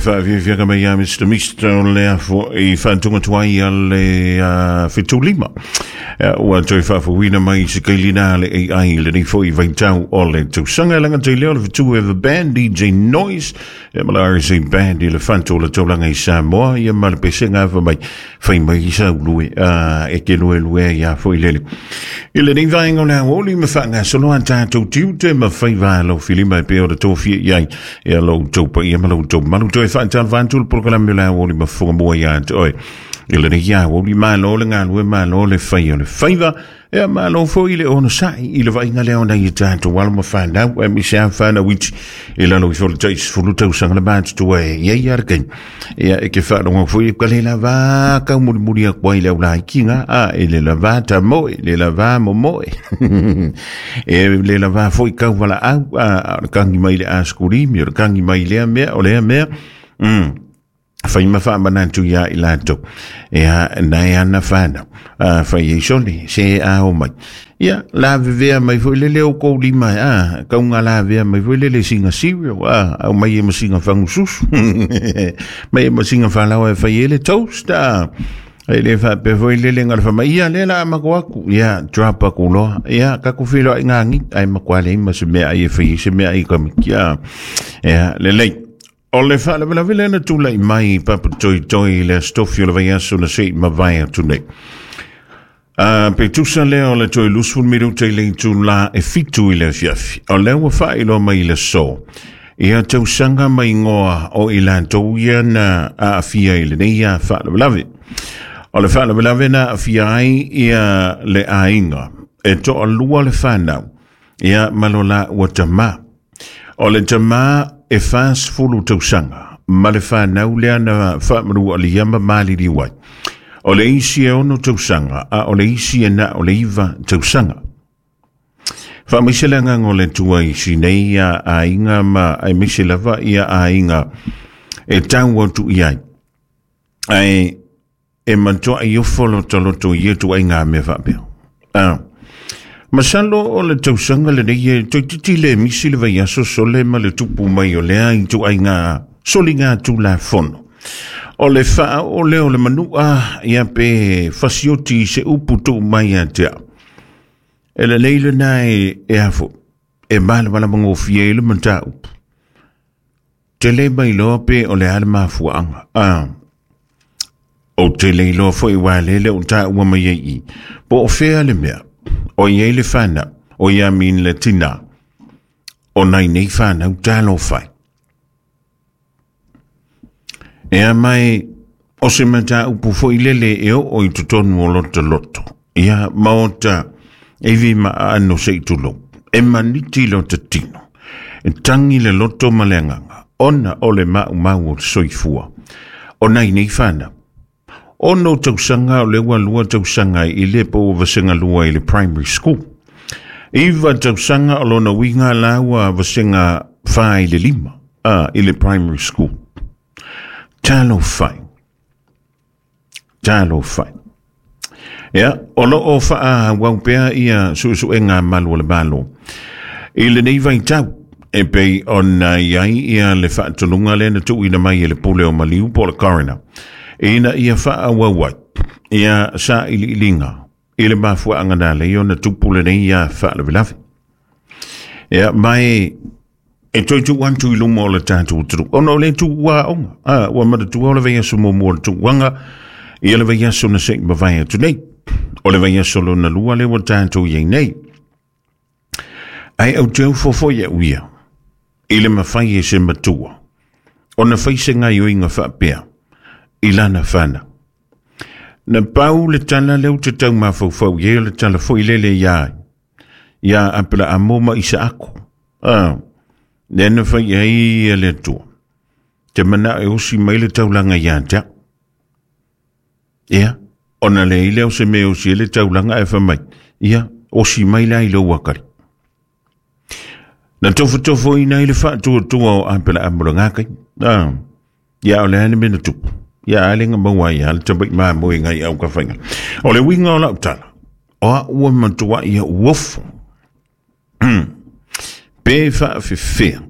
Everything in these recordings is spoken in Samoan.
faafiafiaga mai ia Mr. Mister o lea fo'i faatuga tuai a le 75. Ua toe faafouina mai se kailina a le AI i lenei fo'i vaitau o le tausaga. E laga tai lea o le fetu e The Band, DJ Noise, ia ma la RSA Band i le fatu o le taulaga i Samoa, ia ma le pesega afa mai, fai mai i sau lue, e ke lue lue ia fo'i lele. I lenei vaega o le aoauli ma faagasolo a tatou tiute ma faiva a lau filima e pei o le tofia i ai ia lo outou paia ma lo outou mamalu. Toe faatalofa atu le polokalame o le aoauli ma fofoga mua ia te oe. I lenei aoauli, malo le galue, malo le fai o le faiva. Ia malo foi le onosai i le vaaiga lea o nai o tatou alo ma fanau, aemaise lava fanau iti i lalo ifo o le tai 10 tausaga le matutua e i ai lava le taimi. Ia e te faalogo foi ka le lava taumulimuli atu ai le aulaikiga, a e le lava tamoe, le lava momoe. E le lava foi tauvalaau, a o le tagi mai le askulimi, o le tagi mai lea mea, o lea mea. Fai ma faamanatu iā i latou. Ia, nai ana whānau. Fai ei sole, se a o mai. Ia, la vevea mai foi lele o kou lima, a, kaunga la vea mai foi lele singa cereal, a, au mai e masinga fangususu. Mai e masinga whalawa e fai ele toast, a. E le faapea foi lele nga le fama, ia le la mako aku, ia, drop aku loa, ia, kaku whiloa i ngā ngi, ai makoa le ima se mea ai e fai, se mea ai kamiki, a. Ia, lelei. O le faalavelave lea na tulai mai Papa Toitoi i le Aso Tofi o le vaiaso na se i mavae atu nei. Pe tusa lea o le toe 20 minuta i le itula e 7 i le afiafi. O lea ua faailoa mai i le aso. Ia tausaga ma igoa o i latou ia na aafia i lenei ia faalavelave. O le faalavelave na aafia ai ia le aiga e toalua le whanau ia ma lo laua tamā. O le tamā e 40 tausaga ma le whanau lea na whaamanualia ma maliliu ai. O le isi e 6 tausaga a o le isi e na o le 9 tausaga. Faamaise le agaga o le Atua i si nei ia aiga ma aemaise lava ia aiga e tau atu i ai. Ae e matuai ofo lotoloto i ia tuaiga mea faapea. Masalo o le tausaga lenei e toeitiiti le misi le vaiaso sole ma le tupu mai o lea i tuaiga soliga tulafono. O le faaoo lea o le manua ia pe fasioti i se upu tuu mai ia te au. E lelei lena e afo, e malamalama gofie ai le mataupu. Te le mai loa pe o le a le mafuaaga. O te le iloa foi ua lele o taua mai ai i. Po o fea le mea, o i ai le whanau, o ia min le tina, o nai nei whanau talofa. E a mai, o se mataupu foi lele e oo i totonu o lota loto. Ia maota e vi ma ano se i tulou. E maniti lota tino. E tangi le loto ma le agaga. Ona o le maumau o le soifua. O nai nei whanau. 6 tausaga o le ua 2 tausaga i le po ua vasega 2 i le primary school. 9 tausaga o lona uiga la ua vasega 4 i le 5 i le primary school. Talofa. Talofa. Ia, o loo faaauau pea ia suesuega malu o le Malo. I lenei vaitau, e pei ona i ai ia le faatonuga lea na tuuina mai e le pule o Maliu po o le coroner. Ina ia faaauau ai ia sailiiliga i le mafuaaga na ala ai ona tupu lenei ia faalavelave. Ia, mai e toe tuu atu i luma o le tatou atunuu. Ona o le tuua aoga. Ua manatua o le vaiaso muamua o le tuuaga, ia le vaiaso na se i mavae atu nei. O le vaiaso lona lua lea ua tatou i ai nei. Ae ou te ofo foi au ia, i le mafai e se matua, ona fai se gaioiga faapea, i lana whanau. Na pau le tala lea ou te tau mafaufau i ai o le tala foi lele ia ai, ia Aperaamo ma Isaako. Lea na fai ai e le Atua. Te manao e osi mai le taulaga ia te au. Ia, ona le ai lea o se mea e osi ai le taulaga ae fai mai, ia, osi mai la i lou akali. Na tofotofoina ai le faatuatua o Aperaamo lena taimi. Ia, o le a le mea na tupu. Ia, a le na maua ai lava le tamai mamoe nai au ka faiga. O le uiga o lau tala, o au e matuai ia uofo. Pe faafefea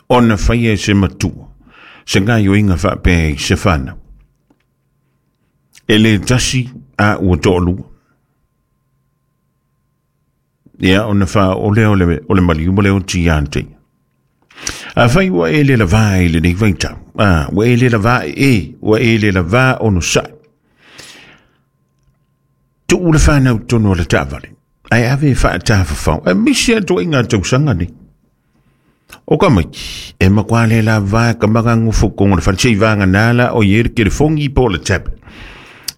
ona faia e se matua. se gaoioiga faapea i se fanau. E le tasi a ua toalua. Ia ona faaoo lea o le maliu ma le oti ia te ia. Afai ua e le lavā i lenei vaitau, a, ua e le lavā e, ua e le lavā onosai. Tuu le fanau tonu o le taavale, ae ave e faatafafao, aemaise lava ituaiga tausaga nei. O ka maiki, e matua le lava ka magagofo i totonu o le fale, se'i vagana la o i ai le telefoni po o le tablet.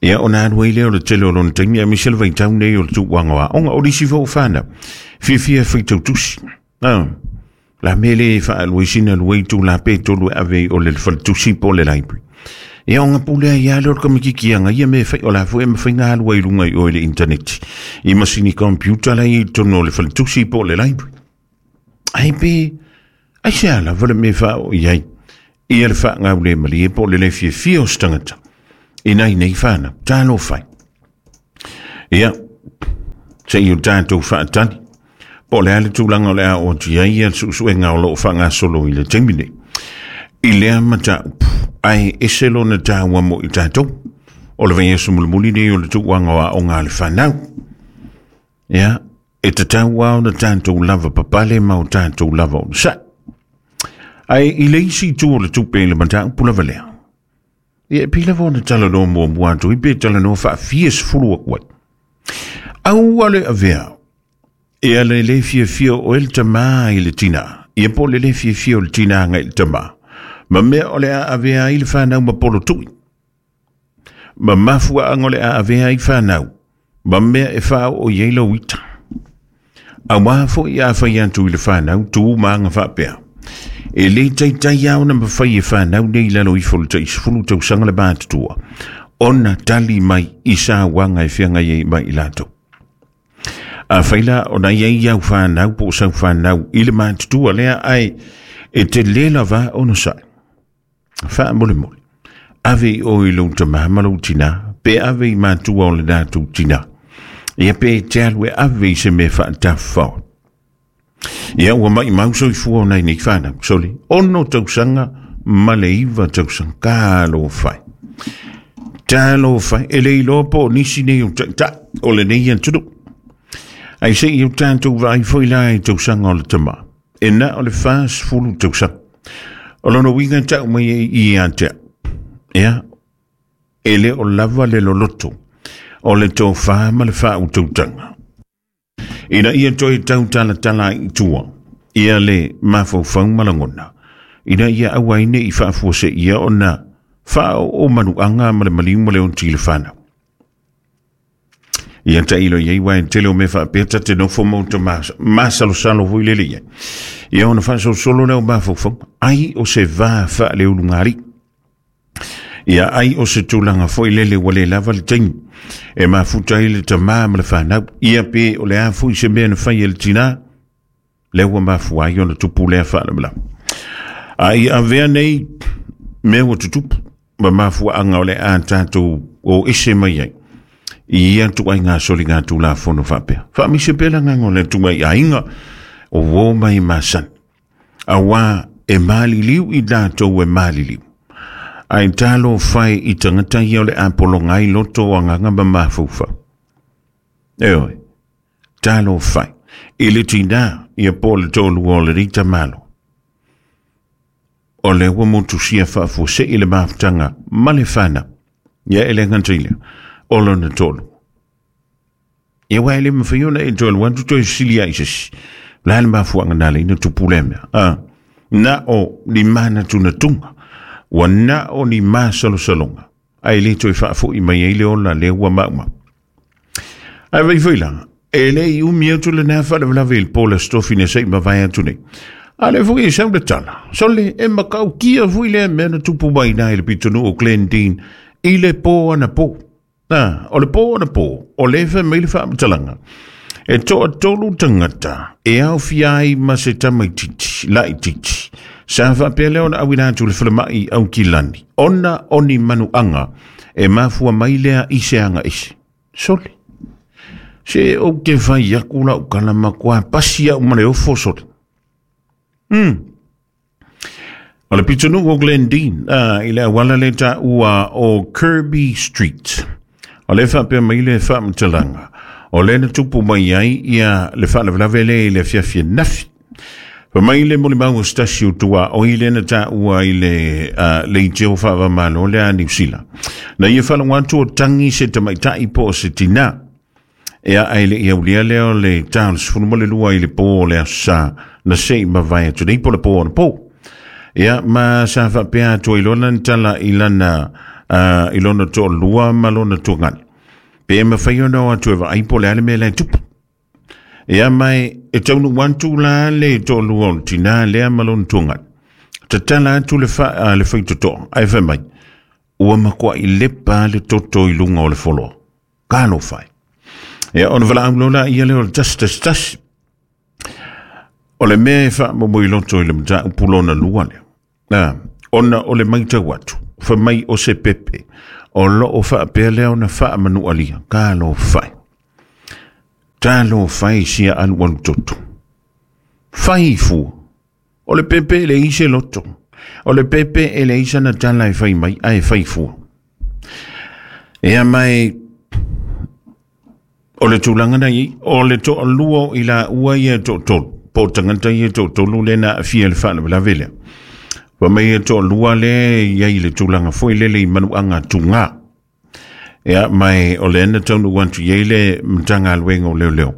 Ia ona alu ai lea o le tele o lona taimi, aemaise le vaitau nei o le tuuaga o aoga. O nisi foi o fanau, fiafia e faitau tusi. Ah, la mea lea e faalua ai sina lua itula pe tolu e ave ai o le faletusi po o le library. Ia ona pule ai lava lea o le tamaitiiti e aga ia mea e fai, o la foi e mafai ona alu ai i luga i o i le internet i masini computer la e i ai i totonu o le faletusi po o le library. Ai pe, aisea lava le mea e faaoo i ai ia le faagaulemalie po o le le fiafia o se tagata i nai nei fanau. Talofa e. Ia, se i o tatou faatali po o le a le tulaga o le a oo atu i ai ia le suesuega o lo o faagasolo i le taimi nei. I lea mataupu, ae ese lona taua mo i tatou. O le vaiaso mulimuli nei o le tuuaga o aoga a le fanau. Ia, e tatau lava ona tatou lava papale ma o tatou lava onosai. Ae i le isi itu o le tupe i le mataupu lava lea, ia e pei lava ona talanoa muamua atu ai pe talanoa faafia sefulu atu ai. Aua le avea ia le le fiafia o oe le tamā i le tinā, ia po o le le fiafia o le tinā agai i le tamā, ma mea o le a avea ai le fanau ma polotui. Ma mafuaaga o le a avea ai fanau, ma mea e faaoo i ai lou ita. Auā foi a fai atu i le fanau tu ma aga faapea, e le taitai lava ona mafai e fanau nei i lalo ifo o le tai 10 tausaga le matutua, ona tali mai i sauaga e feagai ai ma i latou. Afai la ona i ai au fanau po o sau fanau i le matutua lea ae e te le lava onosai, Faamolemole, ave i oe i lou tamā ma lou tinā, pe ave i matua o le latou tinā. Ia pe te alu e ave i se mea faatafafao. Ia ua maimau soifua o nai nei whanau, sole, 6 tausaga ma le 9 tausaga, talofa e. Talofa e, e le iloa po o nisi nei o taitai o lenei atunuu. Ai se i o tatou vaai foi la i tausaga o le tamā. E na o le 40 tausaga. O lona uiga e tau mai ai i ia te au. Ia, e le o lava le loloto o le tofā ma le faautautaga. Ina ia toe tautalatala ai i tua ia le mafaufau ma lagona, ina ia aua ai ne i faafuaseia ona faaoo manuaga ma le maliu ma le oti i le fanau. Ia tailo i ai aua e tele o mea faapea ta te nofo ma uta masalosalo foi lele i ai. Ia ona faasolosolo lea o mafaufauga, ai o se va faaleulugalii. Ia ai o se tulaga foi lele ua le lava le taimi e mafuta ai le tamā ma le fanau. Ia pe o le a foi se mea na fai e le tinā, lea ua mafua ai ona tupu lea faalavelave. A ia avea nei mea ua tutupu ma mafuaaga o le a tatou o ese mai ai i ia ituaiga soligatulafono faapea. Faamaise pea le agaga o le Atua i aiga o uo mai masani, auā e maliliu i latou e maliliu. Ae talofa e i tagata ia o le a pologa ai loto o agaga ma mafaufau. Ioe. Talofa e, i le tinā ia po o le toalua o lenei tamaloa. O lea ua motusia faafuasei le mafutaga ma le fanau. Ia e le gata i lea, o lona toalua. Ia aua e le mafai ona e toe alu atu toe fesili ai i se isi. O le a le mafuaaga na ala ai ona tupu lea mea? A, na o ni manatunatuga, ua na o ni masalosaloga, ae le toe faafoi mai ai le ola lea ua maumau. Ae vai foi la, e le i umi atu lena faalavelave i le po o le Aso Tofi se i mavae atu nei. A lea foi e sau le tala, sole e matautia foi lea mea na tupu mai i le pitonuu o Glendene i le po anapo. Ah, o le po anapo, o lea e fai mai le faamatalaga. E toatolu tagata e aofia ai ma se tamaitiiti laitiiti. Sa faapea lea ona auina atu i le falemai i Aukilani, ona o ni manuaga e mafua mai lea i se aga ese. Sole. Se ou te fai aku lau tala matua pasi au ma le ofo sole. O le pitonuu o Glendene, i le auala le taua o Kirby Street. O le faapea mai le faamatalaga, o le na tupu mai ai ia le faalavelave le i le afiafi nafi. Fa mai le molimau o se tasi o tua o i le na taua i le leitio faavamalo le a Niu Sila. Na ia faalogo atu o tangi se tamaitai po o se tinā. Ea ai le ia ulia lea o le ta o le 12 i le pō o le aso Sā na se i mavae atu nei po le pō ona pō. Ia ma sa faapea atu ai lona ni tala i lana i lona toalua ma lona tuagane. Pe e mawhai ona o atu e vaai po le ale mea lai tupu. Ia mai e taunu atu la le toalua o le tinā lea ma lona tuagane. Tatala atu le le faitotoa ae fai mai, ua matuai lepa le toto i luga o le foloa. Talofa e. Ia, ona valaau loa laia lea o le 111. O le mea e faamomoiloto i le mataupu lona lua lea. Ona o le maitau atu, fai mai o se pepe, o loo faapea lea ona faamanualia. Talofa e. Talofa e sia alualu toto. Fai fua. O le pepe e leai se loto. O le pepe e leai sana tala e fai mai, ae fai fua. Ia mai, o le tulaga na i, o le toalua o i laua ia e toatolu, po o tagata ia e toatolu lea na aafia i le faalavelave lea. Fai mai e toalua lea e i ai i le tulaga foi lele i manuaga tugā. Ia mai o lea na taunuu atu i ai le Matagaluega o Leoleo.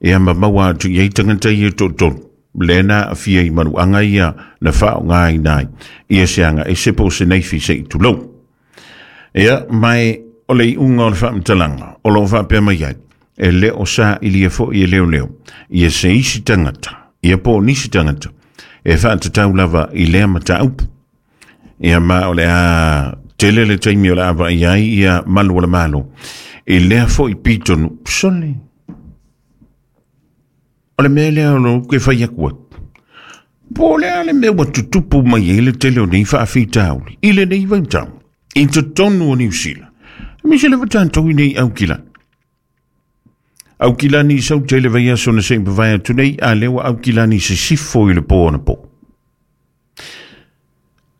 Ia ma maua atu i ai tagata ia e toatolu lea na aafia i manuaga ia na faaaogaina ai ia se aga ese po o se naifi se i tulou. Ia mai o le iuga o le faamatalaga o loo faapea mai ai, e le o sailia foi e leoleo ia se isi tagata, ia po o nisi tagata e faatatau lava i lea mataupu. Ia ma o le a tele le taimi o le a vaai ai ia malu o le Malo i lea foi pitonu. Sole, o le mea lea o lo ke fai atu ai. Po o le a le mea ua tutupu mai ai le tele o nei faafitauli i lenei vaitau i totonu o Niu Sila. Aemaise lava tatou i nei Aukilani. Aukilani i sau tele vaiaso na se i mavae atu nei, a lea ua Aukilani sisifo i le pō anapo.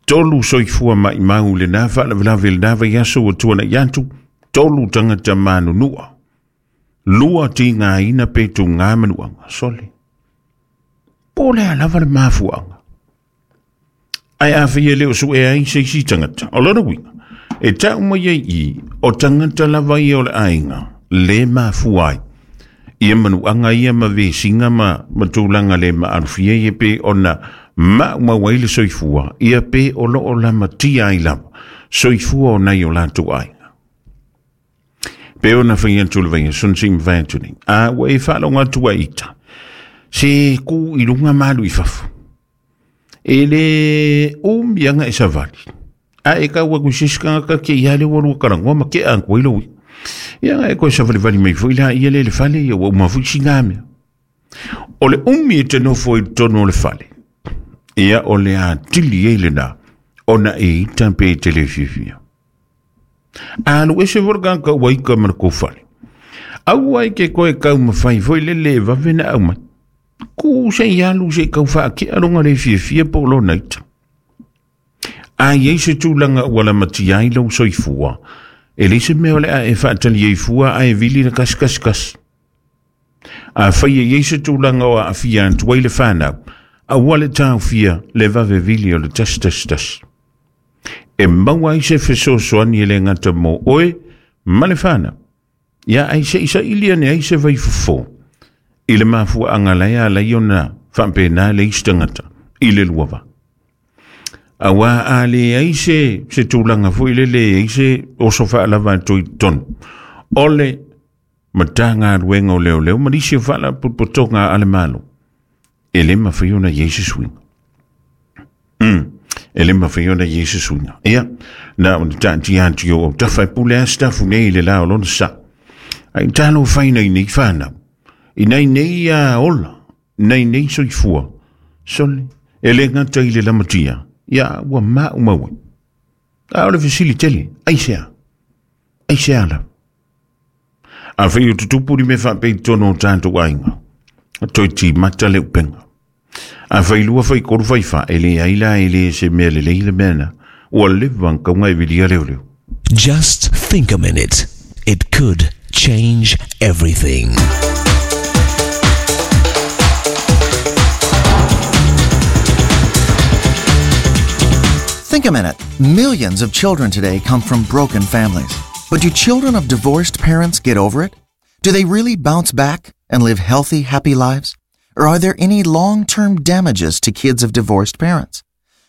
Tolu soifua maimau i lena faalavelave i lena vaiaso ua tuanai atu, tolu tagata manunua. Lua tigaina pe tugā manuaga. Sole. Po o le a lava le mafuaaga. Ae a fai e le o suea ai se isi tagata. O lona uiga, e tau mai ai i, o tagata lava ia o le aiga, le mafua ai. Ia manuaga ia ma vesiga ma tulaga le maalofia ia pe ona maumau ai le soifua, ia pe o loo lamatia ai lava soifua o nai o latou aiga. Pe ona fai atu le vaiaso na se i mavae atu nei. A ua e faalogo atu ai ita, se ku i luga ma alu i fafo. E le umi aga e savali. A e kau atu i se isi tagata ke ia le ua lua talanoa ma tea atu ai lou ia. Ia e koe savalivali mai foi la ia le le fale ia ua uma foi sina mea. O le umi e te nofo i totonu o le fale. Ia o le atili ai lena ona e ita pe e te le fiafia. Alu ese foi le tagata ua ita ma le kou fale. Aua e ke koe taumafai foi lele e vave na aumai. Ku se i alu se i tau faakea longa le fiafia po o lona ita. A i ai se tulaga ua lamatia ai lou soifua, e leai se mea o le a e faatali ai fua ae vili le 111. Afai e i ai se tulaga o aafia atu ai le fanau, aua le taofia le vave vili o le 111. E maua ai se fesoasoani e le gata mo oe ma le fanau. Ia ai se i saili ane ai se vaifofo i le mafuaaga la e ala ai ona faapena le isi tagata i le lua va. Auā a leai se tulaga foi lele e ai se oso faalava atu i totonu o le Matagaluega o Leoleo ma nisi o faalapotopotoga a le Malo, e le mafai ona i ai se suiga. E le mafai ona i ai se suiga. Ia, na ona taatia atu i ou autafa e pule a sitafu nei i le la o lona sa. Ai talofa i nai nei whanau. I nai nei a ola, nai nei soifua. Sole, e le gata i le lamatia. Ia, ua maumau ai. A o le fesili tele, aisea? Aisea lava? Afai o tutupu ni mea faapea i totonu o tatou aiga, toe timata le upega. A failua faitolu faifā, e leai la e le se mea lelei le mea lena. Ua leva ona tatau ona e vilia leoleo. Just think a minute. It could change everything. Think a minute. Millions of children today come from broken families. But do children of divorced parents get over it? Do they really bounce back and live healthy, happy lives? Or are there any long term damages to kids of divorced parents?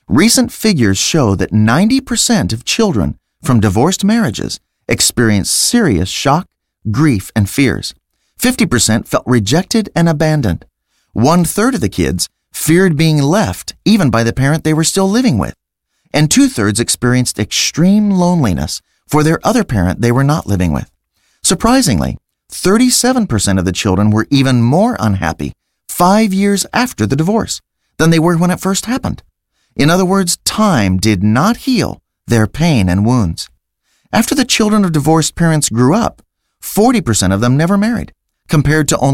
Recent figures show that 90% of children from divorced marriages experience serious shock, grief, and fears. 50% felt rejected and abandoned. One third of the kids feared being left even by the parent they were still living with. And two thirds experienced extreme loneliness for their other parent they were not living with. Surprisingly, 37% of the children were even more unhappy 5 years after the divorce than they were when it first happened. In other words, time did not heal their pain and wounds. After the children of divorced parents grew up, 40% of them never married, compared to only